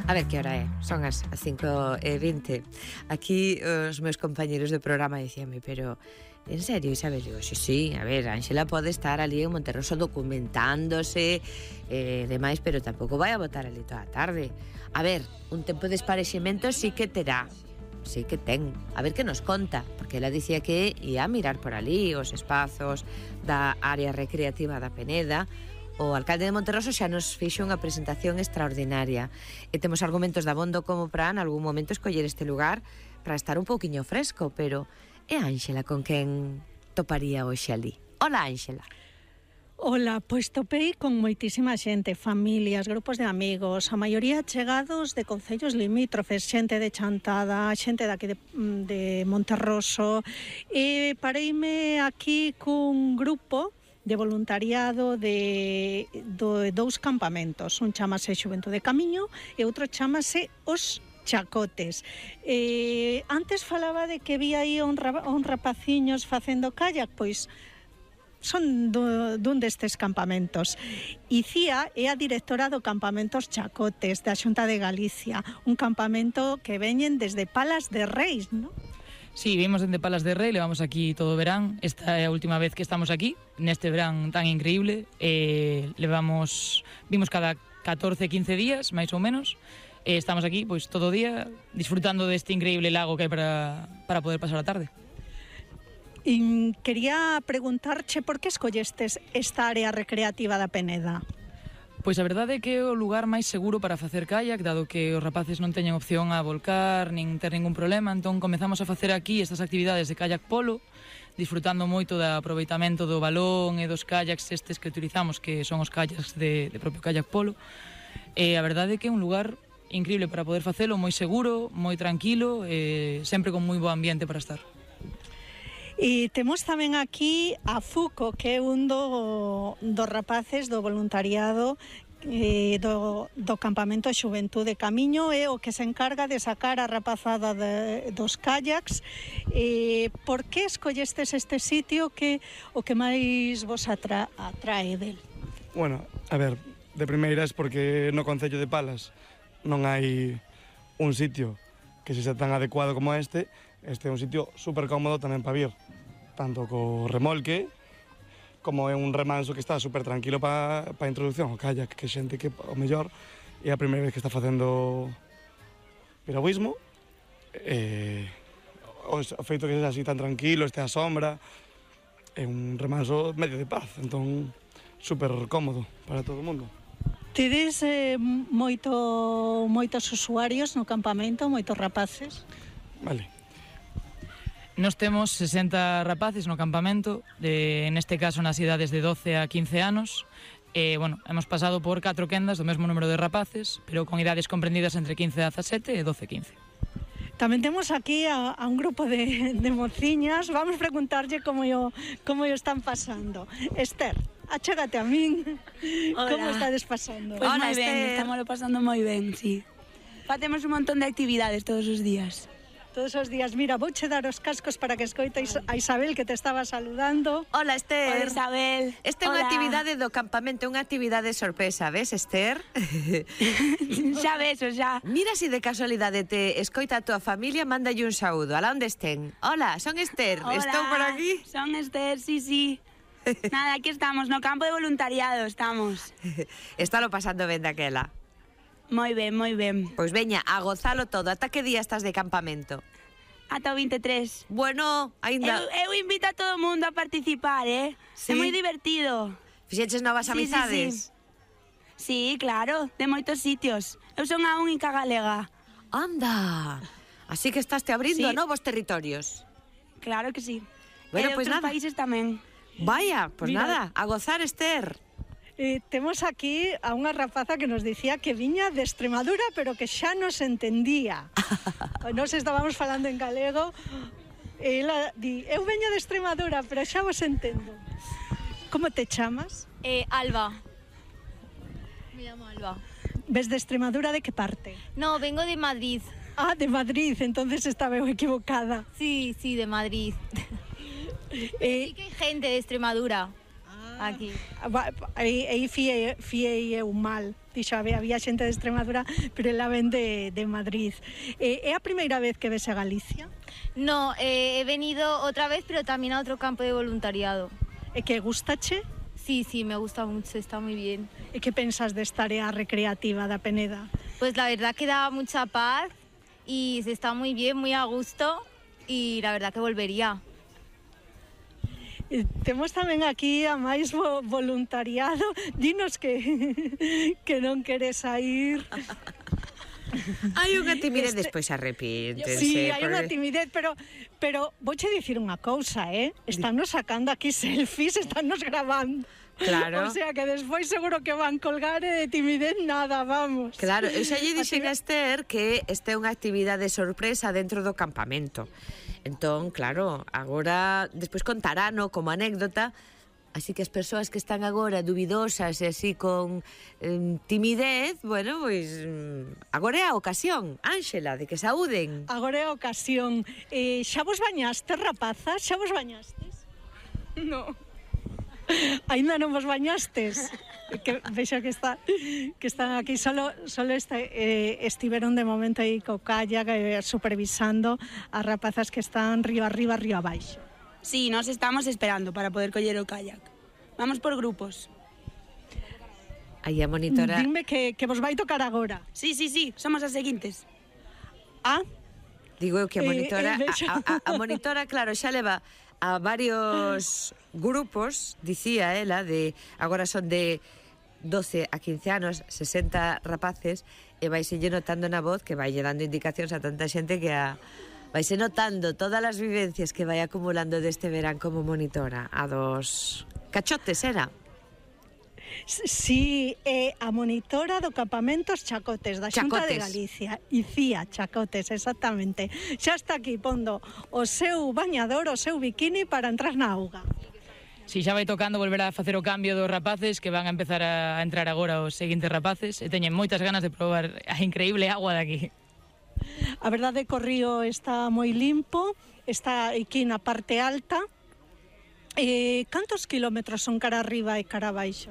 A ver que hora é, son as 5:20. Aquí os meus compañeros de programa dicíanme, pero en serio, Isabel? Digo, sí, a ver, Ángela pode estar ali en Monterroso documentándose demais, pero tampouco vai a botar ali toda a tarde. A ver, un tempo de esparexemento sí que terá, sí que ten. A ver que nos conta, porque ela dicía que ia a mirar por ali os espazos da área recreativa da Peneda. O alcalde de Monterroso xa nos fixo unha presentación extraordinaria e temos argumentos de abondo como para en algún momento escoller este lugar para estar un pouquiño fresco, pero é Ángela con quen toparía hoxe ali. Hola, Ángela. Ola, pois topei con moitísima xente, familias, grupos de amigos, a maioría chegados de concellos limítrofes, xente de Chantada, xente daqui de Monterroso, e pareime aquí cun grupo de voluntariado de dous campamentos. Un chamase Xuventude Camiño e outro chamase Os Chacotes. Antes falaba de que vi aí un rapaciños facendo kayak, pois son dun destes campamentos. Icía é a directora do campamentos Chacotes da Xunta de Galicia, un campamento que veñen desde Palas de Reis, non? Sí, vimos dende Palas de Rei, levamos aquí todo o verán. Esta é a última vez que estamos aquí, neste verán tan increíble. Vimos cada 14-15 días, máis ou menos. Estamos aquí pois todo o día disfrutando deste increíble lago que hai para poder pasar a tarde. E quería preguntarche por que escollestes esta área recreativa da Peneda. Pois a verdade é que é o lugar máis seguro para facer kayak, dado que os rapaces non teñen opción a volcar, nin ter ningún problema, entón comezamos a facer aquí estas actividades de kayak polo, disfrutando moito do aproveitamento do balón e dos kayaks estes que utilizamos, que son os kayaks de propio kayak polo. E a verdade é que é un lugar increíble para poder facelo, moi seguro, moi tranquilo, e sempre con moi bo ambiente para estar. E temos tamén aquí a Fuco, que é un dos rapaces do voluntariado do campamento Xuventude Camiño, é o que se encarga de sacar a rapazada dos kayaks. Por que escollestes este sitio? O que máis vos atrae del? Bueno, a ver, de primeiras porque no concello de Palas non hai un sitio que se sea tan adecuado como este. Este é un sitio super cómodo tamén para vir, tanto co remolque como é un remanso que está super tranquilo para introducción ao kayak, que xente que o mellor é a primeira vez que está facendo piragüismo, o feito que sexa así tan tranquilo, este a sombra, é un remanso medio de paz, entón super cómodo para todo o mundo. Tedes moitos usuarios no campamento, moitos rapaces? Vale. Nos temos 60 rapaces no campamento, neste caso nas idades de 12 a 15 anos. Hemos pasado por 4 quendas do mesmo número de rapaces, pero con idades comprendidas entre 15 a 17 e 12 a 15. Tamén temos aquí a un grupo de mociñas. Vamos preguntarlle como yo están pasando. Esther, achégate a min. Hola. Como estades pasando? Pues Hola, moi ben, estamos pasando moi ben, sí. Facemos un montón de actividades todos os días. Todos os días. Mira, vouche dar os cascos para que escoites a Isabel, que te estaba saludando. Hola, Esther. Hola, Isabel. Esta é unha actividade do campamento, unha actividade sorpresa, ves, Esther? Xa ves, xa. Mira si de casualidade te escoita a tua familia, mándalle un saúdo, alá onde estén. Hola, son Esther, Hola, estou por aquí. Son Esther, sí. Nada, aquí estamos, no campo de voluntariado estamos. Estálo pasando ben daquela. Moi ben, moi ben. Pois veña, a gozalo todo. Ata que día estás de campamento? Ata o 23. Bueno, aínda... Eu invito a todo o mundo a participar, Sí? É moi divertido. Fixeches novas amizades? Sí, claro, de moitos sitios. Eu son a única galega. Anda, así que estás te abrindo a novos territorios. Claro que sí. Bueno, E de pois outros nada. países tamén. Vaya, pois Mira. nada, a gozar, Esther. Temos aquí a unha rapaza que nos dicía que viña de Extremadura, pero que xa nos entendía. Nos estábamos falando en galego, e ela di, eu veño de Extremadura, pero xa vos entendo. Como te chamas? Alba. Me llamo Alba. Ves de Extremadura, de que parte? No, vengo de Madrid. Ah, de Madrid, entonces estaba eu equivocada. Sí, de Madrid. Sí que hay gente de Extremadura aquí. Aí fiei eu mal. dixo, había xente de Extremadura, pero ela ven de Madrid. É a primeira vez que ves a Galicia? No, he venido otra vez, pero también a otro campo de voluntariado. E que gustache? Sí, me gusta mucho, está muy bien. E que pensas desta área recreativa da Peneda? Pues la verdad que da mucha paz y se está muy bien, muy a gusto y la verdad que volvería. Temos tamén aquí a máis voluntariado. Dinos que non queres sair. Hai unha timidez, despois arrepíntense. Sí, hai unha timidez, pero vouche dicir unha cousa, Estánnos sacando aquí selfies, estánnos grabando. Claro. O sea que despois seguro que van colgar e de timidez nada, vamos. Claro, eu xa lle dixen a Esther que esta é unha actividade sorpresa dentro do campamento. Entón, claro, agora, despois contarano como anécdota, así que as persoas que están agora dubidosas e así con timidez, bueno, pois agora é a ocasión, Ángela, de que saúden. Agora é a ocasión. Xa vos bañastes, rapazas? Xa vos bañastes? No. Ainda non vos bañastes? Que vexo que están aquí solo estiveron de momento aí co kayak supervisando as rapazas que están río arriba, río abaixo. Sí, nos estamos esperando para poder coller o kayak. Vamos por grupos. Aí a monitora... Dime que vos vai tocar agora. Sí, somos as seguintes. Ah? Digo eu que a monitora... A monitora, claro, xa leva a varios grupos, dicía ela, de agora son de 12 a 15 anos, 60 rapaces, e vaise notando na voz que vai dando indicacións a tanta xente que vaise notando todas as vivencias que vai acumulando deste verán como monitora. A dos cachotes, era? Sí, a monitora do campamentos Chacotes, da Xunta de Galicia. Icía Chacotes, exactamente. Xa está aquí pondo o seu bañador, o seu bikini para entrar na auga. Si xa vai tocando volver a facer o cambio dos rapaces, que van a empezar a entrar agora os seguintes rapaces, e teñen moitas ganas de probar a increíble agua de aquí. A verdade é que o río está moi limpo, está aquí na parte alta. Cantos kilómetros son cara arriba e cara abaixo?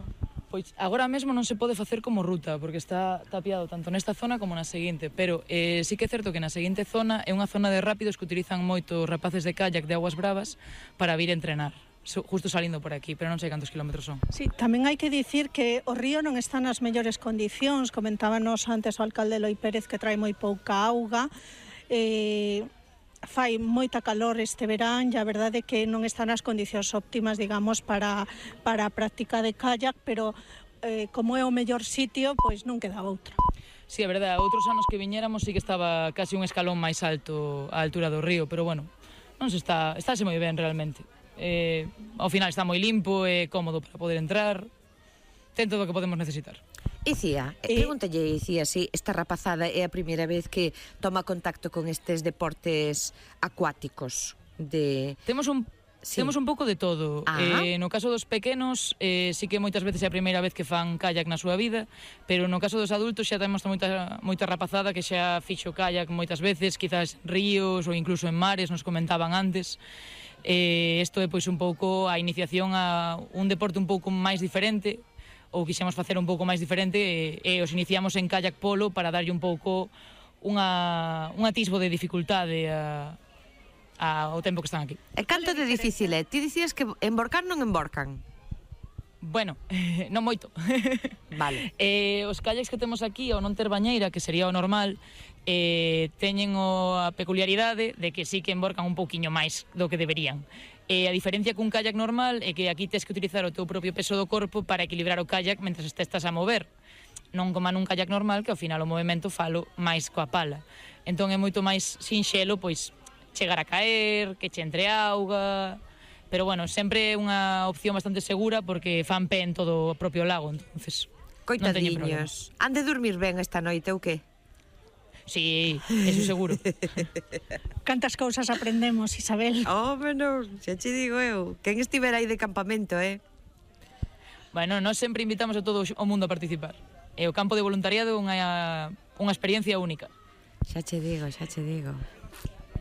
Pois agora mesmo non se pode facer como ruta, porque está tapiado tanto nesta zona como na seguinte, pero sí que é certo que na seguinte zona é unha zona de rápidos que utilizan moito os rapaces de kayak de aguas bravas para vir entrenar, justo salindo por aquí, pero non sei cantos kilómetros son. Sí, tamén hai que dicir que o río non está nas mellores condicións, comentábanos antes o alcalde Eloi Pérez que trae moi pouca auga, fai moita calor este verán e a verdade é que non están as condicións óptimas, digamos, para a práctica de kayak, pero como é o mellor sitio, pois non queda outra. Sí, é verdade, outros anos que viñéramos sí que estaba casi un escalón máis alto a altura do río, pero bueno, non se estáse moi ben realmente. Ao final está moi limpo e cómodo para poder entrar, ten todo o que podemos necesitar. Icía, pregúntalle, Icía, si esta rapazada é a primeira vez que toma contacto con estes deportes acuáticos de... Temos un pouco de todo. No caso dos pequenos, sí que moitas veces é a primeira vez que fan kayak na súa vida, pero no caso dos adultos xa temos moita rapazada que xa fixo kayak moitas veces, quizás ríos ou incluso en mares, nos comentaban antes. Isto é pois un pouco a iniciación a un deporte un pouco máis diferente, ou quixemos facer un pouco máis diferente, e os iniciamos en kayak polo para darlle un pouco un atisbo de dificultade ao tempo que están aquí. E canto de difícil é? Ti dicías que emborcar non emborcan? Bueno, non moito. Vale. Os kayaks que temos aquí, ao non ter bañeira, que sería o normal, teñen a peculiaridade de que sí que emborcan un pouquiño máis do que deberían. A diferencia cun kayak normal é que aquí tes que utilizar o teu propio peso do corpo para equilibrar o kayak mentre estás a mover. Non como nun kayak normal, que ao final o movimento falo máis coa pala. Entón é moito máis sinxelo, pois, chegar a caer, que che entre auga... Pero bueno, sempre é unha opción bastante segura porque fan pé en todo o propio lago, entonces coitadiños. Han de dormir ben esta noite ou que? Sí, eso seguro. Cantas cousas aprendemos, Isabel. Bueno, xa che digo eu. Quen estivera aí de campamento, Bueno, nós sempre invitamos a todo o mundo a participar. E o campo de voluntariado é unha experiencia única. Xa che digo.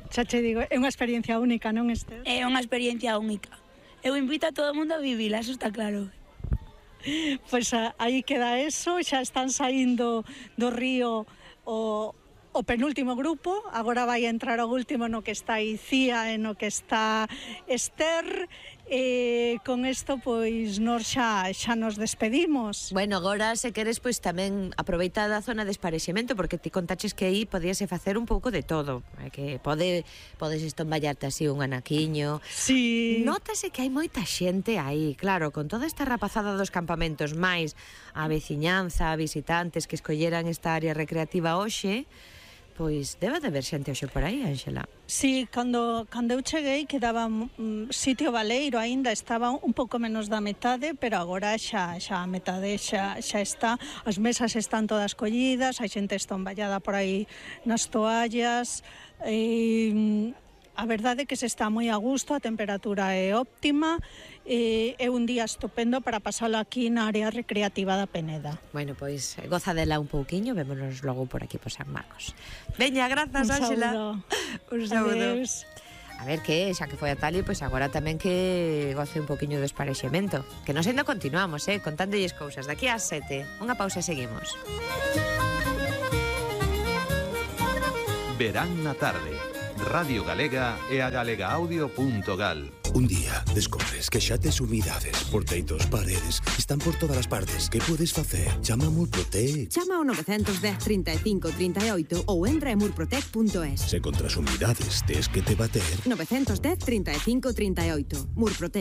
Xa che digo, é unha experiencia única, non, Esther? É unha experiencia única. Eu invito a todo o mundo a vivila, eso está claro. Pois aí queda eso, xa están saindo do río o penúltimo grupo, agora vai entrar o último no que está Icía e no que está Esther, e con isto pois nos xa nos despedimos. Bueno, agora se queres pois tamén aproveita da zona de esparexemento, porque ti contaches que aí podíase facer un pouco de todo, que podes estomballarte así un anaquiño. Sí. Nótase que hai moita xente aí, claro, con toda esta rapazada dos campamentos, máis a veciñanza, a visitantes que escolleran esta área recreativa hoxe. Pois debe de haber xente hoxe por aí, Ángela. Sí, cando eu cheguei quedaba sitio baleiro, aínda estaba un pouco menos da metade, pero agora xa a metade xa está. As mesas están todas collidas, hai xente estomballada por aí nas toallas. A verdade é que se está moi a gusto, a temperatura é óptima, é un día estupendo para pasalo aquí na área recreativa da Peneda. Bueno, pois goza dela un pouquiño, vémonos logo por aquí por San Marcos. Veña, grazas, Ángela. Un saúdo. Adeus. A ver que, xa que foi a Tali, pois agora tamén que goce un poquiño do esparexemento. Que nos ainda continuamos, contándolles cousas. Daqui ás 7, unha pausa e seguimos. Verán na tarde. Radio Galega e a galegaaudio.gal. Un día descobres que xa tes humidades por teitos, paredes, están por todas as partes. Que podes facer? Chama a Murprotec. Chama ao 910 35 38 ou entra en murprotec.es. Se contra as humidades tes que te bater. 910 35 38. Murprotec.